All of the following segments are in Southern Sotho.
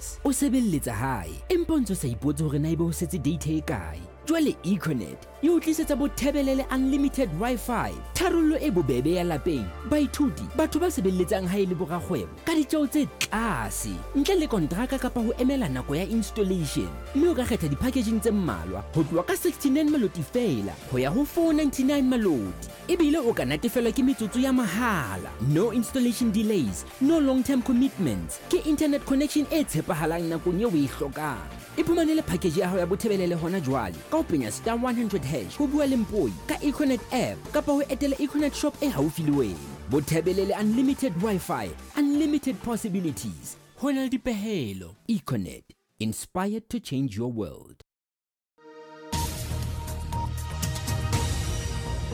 Yes, o sebelletsa hae empa o ntse o sa ipotse hore na ebe ho setse data e kae. Jwale Econet e o tlisetsa Bothebelele Unlimited Wi-Fi, tharollo e bobebe ya lapeng, baithuti, batho ba sebelletsang hae le borakgwebo ka ditjeo tse tlase, ntle le kontraka kapa ho emela nako ya installation. Mme o ka kgetha di-packaging tse mmalwa ho tloha ka 69 maloti feela ho ya ho 499 maloti. Ebile o ka natefelwa ke metsotso ya mahala. No installation delays, no long term commitments. Ke internet connection e tshepahalang nakong eo o e hlokang. Iphumanele package ya hao ya Bothebelele hona jwale ka ho penya star 100 hash ho bua le Mpoi ka Econet app kapa ho etela Econet shop e haufi le wena. Bothebelele Unlimited Wi-Fi, unlimited possibilities. Ho na le dipehelo. Econet, inspired to change your world.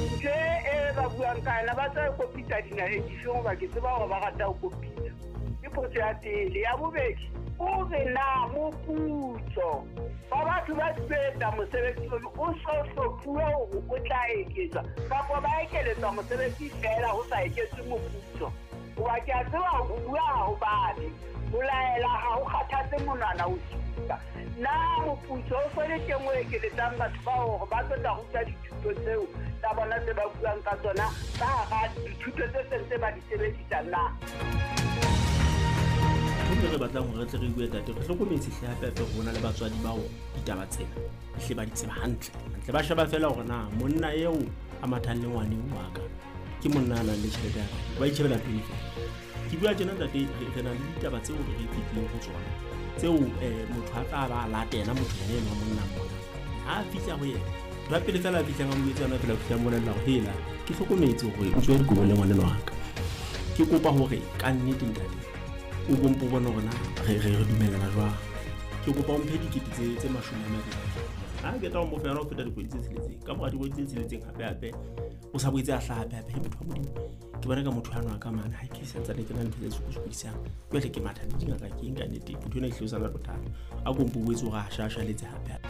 Ntho e ba buang ka yona ba tla e kopitsa dinaheng difeng goba ke tseba gore ba rata go kopitsa. Ke potso ya pele. Ya bobedi, o re na moputso wa batho ba tlo mosebetsi ono o so hlophuwe gore o tla eketswa kapa ba ekeletswa mosebetsi fela ho sa eketswe moputso? Goba ke a tseba go bua ga go babe, go laela ga go kgathatse monwana o supa. Na moputso o so le teng o ekeletsang batho bao gore ba tlo tla ruta dithuto tseo tsa bona tse ba buang ka tsona ka hara dithuto tse sentse ba di sebedisa na? Ntho e re batlang hore re tle re bue, tate, re hlokometse hle hape hape hore ho na le batswadi bao ditaba tsena hle ba di tseba hantle hantle. Ba sheba fela hore na monna eo a mathang le ngwane wa ka ke monna a nang le tjhelete ya kae, ba itjhebela ntho fela. Ke bua tjena, ntate, re na le ditaba tseo re fetileng ho tsona tseo motho a tla ba a latela motho yena enwa monna mona ha a fihla ho yena. Ntho ya pele fela a fihlang a mo jwetsa yona fela, o fihla mmolella hore hela, ke hlokometse hore o tswe dikobo le ngwaneno wa ka, ke kopa hore ka nnete, ntate, o bompo bone hore na re dumellana jwang, ke kopa o mphe dikete tse 20. Ha ke tla o mo fa yona ho feta dikgwedi tse tsheletseng. Ka mora dikgwedi tse tsheletseng hape hape o sa boetse a hlaha hape hape, he motho wa Modimo, ke bona ka motho ano a ka mane ha ke santsane ke na ntho tse sokosokodisang, jwale ke matha le dingaka ke eng ka nnete, motho ena ehlile o sa na le bothata, a kompo boetse hore a shashaletse hape hape.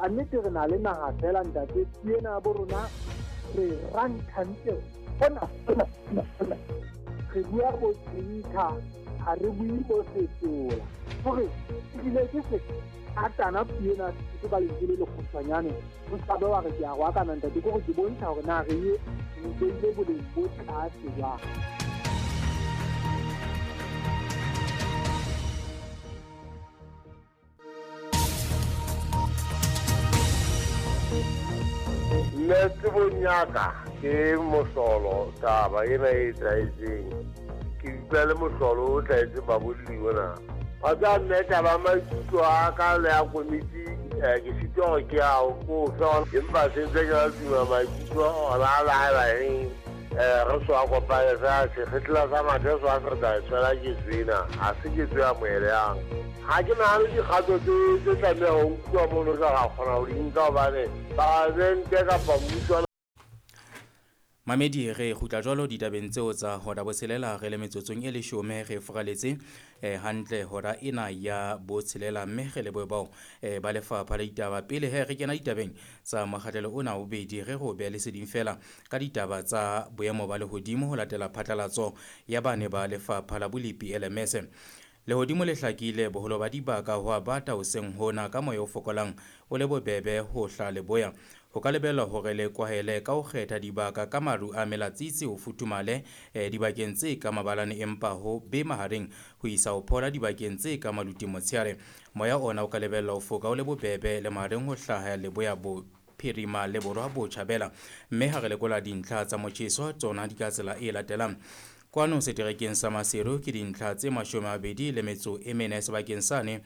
A nnete re na le naha fela, ntate, ena bo rona re ranthantle ona ona ona. Re bua bo tsinka, ha re bue bo setola hore ebile ke se atana puo ena ke ka lentswe le lekgutshwanyane, o sa be wa re ke a roakana, ntate, ke gore ke bontsha hore na re ye re beile boleng bo tlase jwang. Nna tsebong ya ka ke mohlolo taba ena e etsahetseng, ke utlwa le mohlolo o tlahetseng babolli ona. Wa tseba mme, taba maikutlo a ka le ya komiti, ke sitwa hore ke a ko fe, empa se ntse ke la tuma maikutlo ona a la eng, re so a kopane fela sekgetla sa mathe so a se re tla e tshwela ketso ena, ha se ketso e amohelehang. Ha ke nahane dikgato tse tlameha ho nkuwa mono re ka kgona ho di nka hobane palamente kapa mmuso. Mamedi, re kgutla jwalo ditabeng tseo tsa hora botshelela re le metsotsong e 10 re furaletse hantle hora ena ya botshelela, mme re lebohe bao ba lefapha la ditaba. Pele he re kena ditabeng tsa mokgahlelo ona wa bobedi, re go behe leseding fela ka ditaba tsa boemo ba lehodimo ho latela phatlalatso ya bane ba lefapha la bolepi LMS. Lehodimo le hlakile boholo ba dibaka ho a bata hoseng hona ka moya o fokolang o le bobebe ho hla leboya. Ho ka lebellwa hore le kwahele ka ho kgetha dibaka ka maru a melatsitsi ho futhumale dibakeng tse ka mabalane, empa ho be mahareng ho isa ho phola dibakeng tse ka maluti motshehare. Moya ona o ka lebellwa ho foka o le bobebe le mahareng ho hlaha leboya bo phirima le borwa botjhabela. Mme ha re lekola dintlha tsa motjheso tsona di ka tsela e latelang. Kwano seterekeng sa Maseru ke dintlha tse 24 sebakeng sane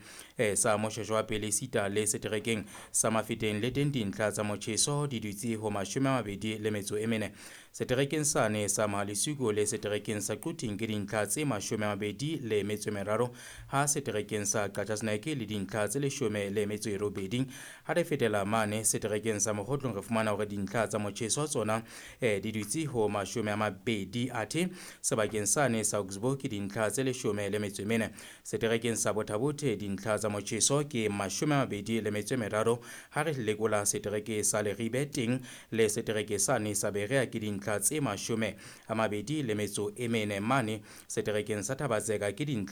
sa Moshoeshoe wa pele, sita le seterekeng sa Mafeteng le teng dintlha tsa motjheso di dutse ho 24. Seterekeng sane sa Mahalisuku le seterekeng sa Quthing ke dintlha tse 23, ha seterekeng sa Qacha's Nek le dintlha tse 18. Ha re fetela mane seterekeng sa Mokgotlong re fumana hore dintlha tsa motjheso tsona di dutse ho 20, athe sebakeng sane sa Augsburg ke dintlha tse 14. Seterekeng sa Botha-Bothe dintlha tsa motjheso ke 23, ha re lekola setereke sa Leribe teng le setereke sane sa Berea ke dintlha tse 24. Mane seterekeng sa Thabatseka ke dintlha